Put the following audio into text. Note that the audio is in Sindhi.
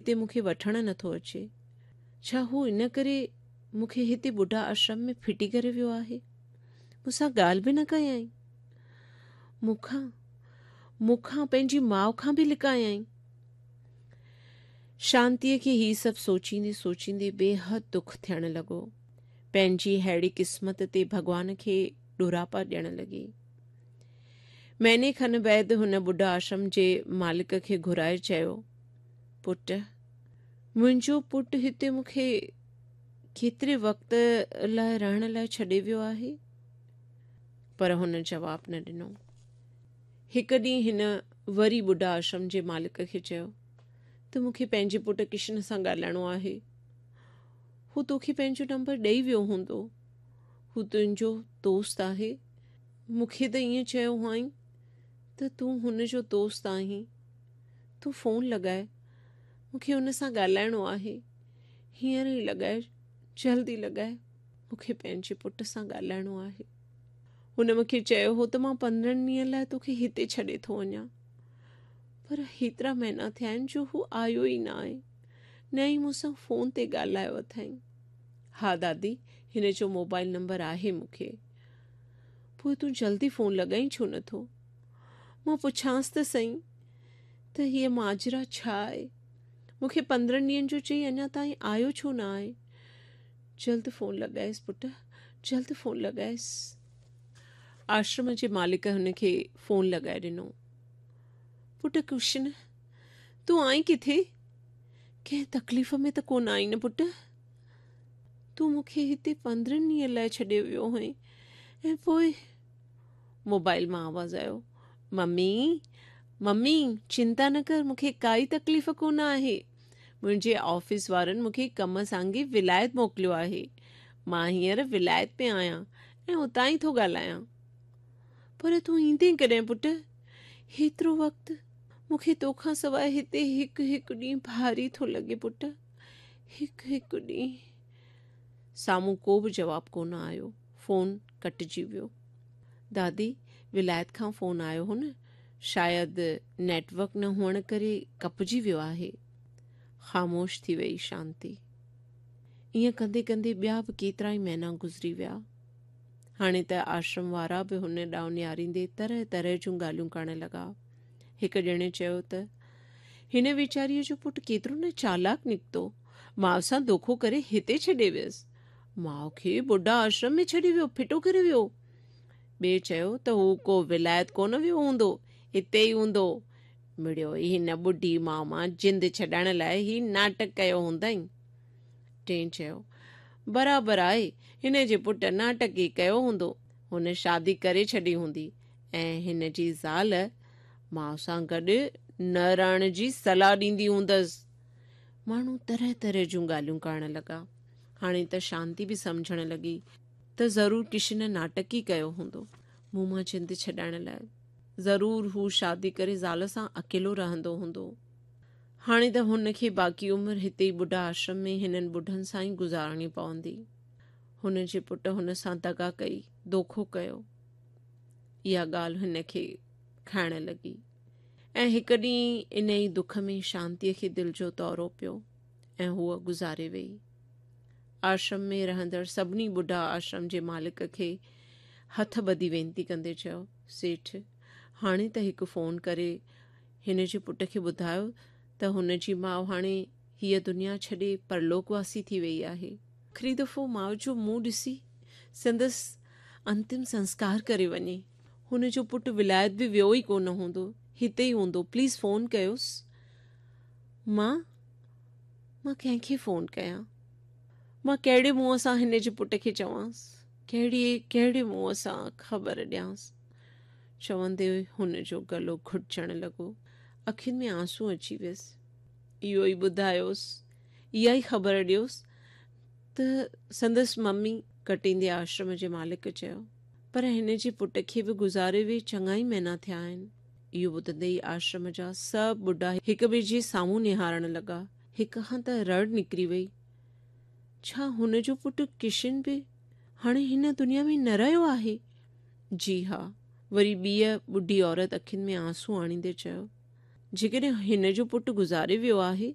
هتي مون کي وٺڻ نٿو اچي؟ ڇا هو ان ڪري مون کي هتي ٻڍا آشرم ۾ ڦٽي ڪري ويو آهي؟ مون سان ڳالهه به نه ڪيائين. مون کان، مون کان پنهنجي ماء کان به لڪايائين. شانتيء کي هي سڀ سوچيندي سوچيندي بيحد دک ٿيڻ لڳو. پنهنجي ههڙي قسمت تي ڀڳوان کي ڏوراپا ڏيڻ لڳي. مهيني کن بعد هن ٻڍا آشرم جي مالڪ کي گهرائي چيو، پٽ، منهنجو پٽ هتي مون کي ڪيتري وقت لاء رهڻ لاء ڇڏي ويو آهي؟ پر هن جواب نه ڏنو. هڪ ڏينهن هن وري ٻڍا آشرم جي مالڪ کي چيو ته مون کي پنهنجي پٽ ڪشن سان ڳالهائڻو آهي. هو توکي پنهنجو نمبر ڏئي ويو هوندو. هو تنهنجو دوست آهي. مون کي ته ائين چيو هئائين ته تون هن جو دوست آهين. تون فون لڳاء، مون کي هن سان ڳالهائڻو آهي. هينئر ئي لڳاء، جلدي لڳاء، مون کي پنهنجي پٽ سان ڳالهائڻو آهي. هن مون کي چيو هو ته مان پندرهن ڏينهن لاء توکي هتي ڇڏي ٿو وڃان. پر هيترا مهينا ٿيا آهن جو هو آيو ئي نه آهي، نه ئي مون سان فون تي ڳالهايو اٿائين. ها دادي، هن جو موبائل نمبر آهي مون کي. پوء تون جلدي فون لڳائين ڇو نه ٿو؟ مان پڇانس ته سهي ته هيء ماجرا ڇا آهي؟ مون کي پندرهن ڏينهن جو چئي اڃا تائين آيو ڇو نه آهي؟ جلد فون لڳائيس پٽ، جلد فون لڳائيس. آشرم جي مالڪ هن کي فون لڳائي ڏنو. پٽ ڪرشن، تون آئين ڪٿي؟ ڪنهن تڪليف ۾ ته ڪونه آئين نه پٽ؟ تون مون کي هتي پندرهن ڏينهن لاء ڇڏي ويو هئين ۽ پوء موبائل مان آواز آيو ممي ممي چنتا نه ڪر مون کي ڪائي تڪليف ڪونه آهي منهنجي آفيس وارن مون کي ڪم سانگي ولايت موڪليو آهي مان هينئر ولايت ۾ آهيان ۽ اتان ئي ٿو ڳالهايان پر تون ايندين ڪڏهن پٽ هيترو وقت مون کي توکان سواء هتي هڪ هڪ ڏينهن ڀاري ٿو لڳي پٽ هڪ هڪ ڏينهن. سامهون ڪو به جواب ڪونه آيو. فون ڪٽجي ويو. دادي، ولايت کان فون آيو هو نه؟ شايد نيٽ ورڪ نه هئڻ ڪري ڪپجي ويو آهي. خاموش ٿي ويئي شانتي. ائين ڪندي ڪندي ٻيا به ڪيترائي مهينا گذري ويا. هاڻي ته آشرم وارا به هن ڏانهن نهاريندي طرح طرح جون ڳالهيون ڪرڻ لڳا. هڪ ڄڻي چيو ته هن ويچاريء جو پٽ ڪيترو نه چالاڪ نڪتو. ماء سان دوکو ڪري هتي ڇڏي ويس. ماء کي ٻڍا آشرم ۾ ڇڏي ويو، ڦٽو ڪري ويو. ٻئي چيو ته هو ڪو ولايت ڪونه ويو هوندو، هتي ئي هوندو. مڙيو ئي هن ٻڍي ماء مان جند ڇڏائڻ لاء هي ناٽڪ ڪيو هوندائين. ٽئين چيو، برابر آهي، هن جي پٽ ناٽڪ ئي ڪيو هوندو. هن شادي ڪري ڇڏي هوندي ۽ هن جي زال ماء سان گڏ نه رهڻ جي صلاح ڏيندي هوندس. ماڻهو طرح طرح جون ڳالهيون ڪرڻ لڳا. هاڻي ته شانتي به سمجهڻ لڳي ته ضرور ڪشن ناٽڪ ئي ڪيو هوندو مون مان جند ڇڏائڻ لاء. ضرور هو شادي ڪري زال سان اڪيلو رهندو هوندو. هاڻي ته هن کي باقي عمر هتي ئي ٻڍا آشرم ۾ هنن ٻڍن سان ئي گذارڻي پوندي. هن جي پٽ هن سان دغا ڪئي، دوکو ڪيو. اها ڳالهه هن کي کائڻ لڳي ۽ هڪ ڏينهن انهي دک ۾ شانتيء کي دل جو دورو پيو ۽ هوء گذاري ويئي. آشرم ۾ رهندڙ سڀني ٻڍا آشرم جي مالڪ کي هٿ ٻڌي وينتي ڪندي چيو، سيٺ، هاڻي ته هڪ فون ڪري هن جي پٽ کي ٻڌايو ته هن جي ماء هاڻي هيء دنيا ڇڏي پرلوڪ واسي ٿي ويئي آهي. آخري دفعو ماء جو منهن ڏسي سندس انتم سنسڪار ڪري وڃي. هن جو پٽ ولايت به ويو ئي ڪونه هوندو، هتي ئي هوندو، پليز فون ڪيوس. مان؟ مان ڪنهن کي فون ڪيان؟ مان ڪهڙي منهن سان هن جي پٽ کي چوانس؟ ڪهڙي ڪهڙي منهن سان خبر ڏيانس؟ چوندي هن جو گلو گهٽجڻ لڳو، اکين ۾ آنسو اچي ويس. اهو ئي ٻڌايوس، اها ئي خبر ڏيوس ته سندس ممي ڪٽيندي آشرم جي مالڪ چيو، پر هن جي پٽ کي به گذاري وئي چڱا ئي مهينا ٿيا آهن. اهو ٻڌندي ئي آشرم جا سڀ ٻڍا هڪ ٻئي جي سامهون نهارڻ لڳا. هڪ کان ته رڙ نڪري وئي، ڇا هن جو پٽ ڪشن به هاڻي هن دنيا ۾ نه رهيو آهي؟ جي ها. وري ٻيء ٻڍي عورت اکين ۾ آنسو آڻيندي چيو، جيڪڏهن هن جو پٽ گذاري ويو آهي